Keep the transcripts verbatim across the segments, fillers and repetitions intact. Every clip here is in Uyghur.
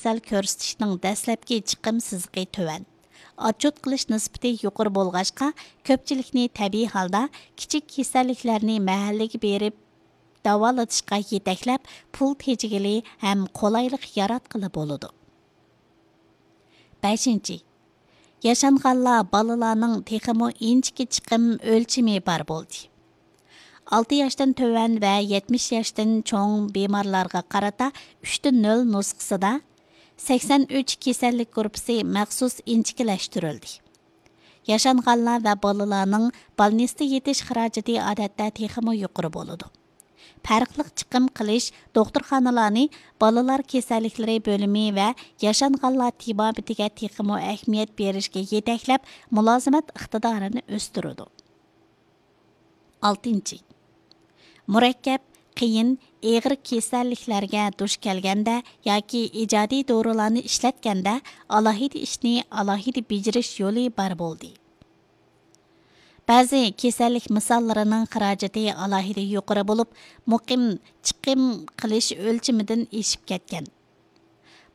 كېسەل كۆرسىتىشنىڭ دەسلەپكى چىقىم سىزىقى تۆۋەن. ئاتچوت قىلىش نىسبىتى يۇقىرى بولغاچقا، كۆپچىلىكنى تەبىئىي ھالدا كىچىك كېسەللىكلەرنى مەھەللىگە بېرىپ داۋالىتىشقا يېتەكلەپ، پۇل تېجىگىلى ھەم قولايلىق ياراتقىلى بولىدۇ. بەشىنچى، ياشانغانلار، بالىلارنىڭ تېخىمۇ ئىنچىكە چىقىم ئۆلچىمى بار بولدى. ئالتە ياشتىن تۆۋەن ۋە يەتمىش ياشتىن چوڭ بىمارلارغا قارىتا ئۈچتە نۆل نۇسخىسىدا سەكسەن ئۈچ كېسەللىك گۇرۇپپىسى مەخسۇس ئىنچىكىلەشتۈرۈلدى. ياشانغانلار ۋە بالىلارنىڭ بالنىستتا يېتىش خىراجىتى ئادەتتە تېخىمۇ يۇقىرى بولىدۇ. پەرقلىق چىقىم قىلىش دوختۇرخانىلارنى بالىلار كېسەللىكلىرى بۆلۈمى ۋە ياشانغانلار تېبابىتىگە تېخىمۇ ئەھمىيەت بېرىشكە يېتەكلەپ، مۇلازىمەت ئىقتىدارىنى ئۆستۈرىدۇ. ئالتىنچى، مۇرەككەپ، قىيىن، ئېغىر كېسەللىكلەرگە دۇچ كەلگەندە ياكى ئىجادىي دورىلارنى ئىشلەتكەندە ئالاھىدە ئىشنى ئالاھىدە بېجىرىش يولى بار بولدى. بەزى كېسەللىك مىساللىرىنىڭ خىراجىتى ئالاھىدە يۇقىرى بولۇپ، مۇقىم چىقىم قىلىش ئۆلچىمىدىن ئېشىپ كەتكەن.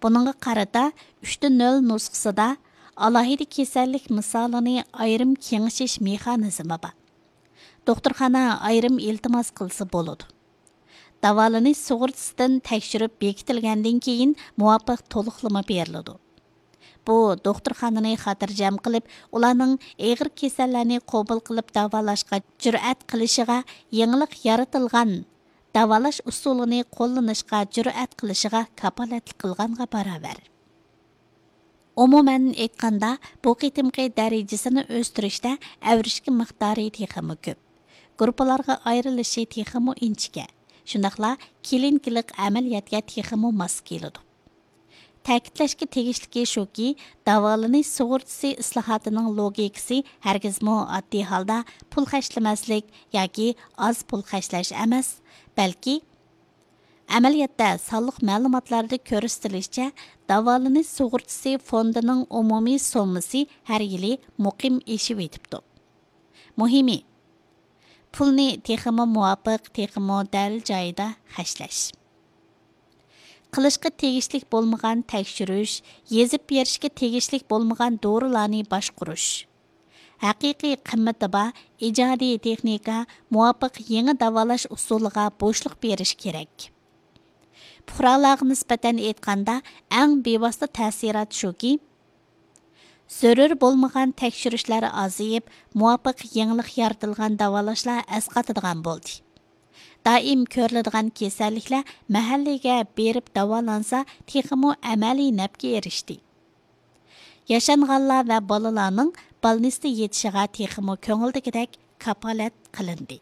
بۇنىڭغا قارىتا، ئۈچتە نۆل نۇسخىسىدا ئالاھىدە كېسەللىك مىسالىنى ئايرىم كېڭىشىش مېخانىزمى بار. دوختۇرخانا ئايرىم ئىلتىماس قىلسا بولىدۇ. داۋالىنىش سۇغۇرتىسىدىن تەكشۈرۈپ بېكىتىلگەندىن كېيىن، مۇۋاپىق تولۇقلىما بېرىلىدۇ. بۇ، دوختۇرخانىنى خاتىرجەم قىلىپ، ئۇلارنىڭ ئېغىر كېسەللەرنى قوبۇل قىلىپ داۋالاشقا جۈرئەت قىلىشىغا، يېڭىلىق يارىتىلغان داۋالاش ئۇسۇلىنى قوللىنىشقا جۈرئەت قىلىشىغا كاپالەتلىك قىلغانغا باراۋەر. ئومۇمەن ئېيتقاندا، بۇ قېتىمقى دەرىجىسىنى ئۆستۈرۈشتە ئەۋرىشكە مىقدارى تېخىمۇ كۆپ، گۇرۇپپىلارغا ئايرىلىشى تېخىمۇ ئىنچىكە، شۇنداقلا كلىنىكىلىق ئەمەلىيەتكە تېخىمۇ ماس كېلىدۇ. تەكىتلەشكە تېگىشلىكى شۇكى، داۋالىنىش سۇغۇرتىسى ئىسلاھاتىنىڭ لوگىكىسى ھەرگىزمۇ ئاددىي ھالدا پۇل خەجلىمەسلىك ياكى ئاز پۇل خەجلەش ئەمەس، بەلكى ئەمەلىيەتتە، سانلىق مەلۇماتلاردا كۆرسىتىلىشىچە، داۋالىنىش سۇغۇرتىسى فوندىنىڭ ئومۇمىي سوممىسى ھەر يىلى مۇقىم ئېشىۋېتىپتۇ. مۇھىمى، پۇلنى تېخىمۇ مۇۋاپىق، تېخىمۇ دەل جايىدا خەجلەش. قىلىشقا تېگىشلىك بولمىغان تەكشۈرۈش، يېزىپ بېرىشكە تېگىشلىك بولمىغان دورىلارنى باشقۇرۇش. ھەقىقىي قىممىتى بار ئىجادىي تېخنىكا، مۇۋاپىق يېڭى داۋالاش ئۇسۇلىغا بوشلۇق بېرىش كېرەك. پۇقرالارغا نىسبەتەن ئېيتقاندا، ئەڭ بىۋاسىتە تەسىرات شۇكى، زۆرۈر بولمىغان تەكشۈرۈشلەر ئازىيىپ، مۇۋاپىق يېڭىلىق يارىتىلغان داۋالاشلار ئەسقاتىدىغان بولدى. دائىم كۆرۈلىدىغان كېسەللىكلەر مەھەللىگە بېرىپ داۋالانسا، تېخىمۇ ئەمەلىي نەپكە ئېرىشتى. ياشانغانلار ۋە بالىلارنىڭ بالنىستتا يېتىشىغا تېخىمۇ كۆڭۈلدىكىدەك كاپالەت قىلىندى.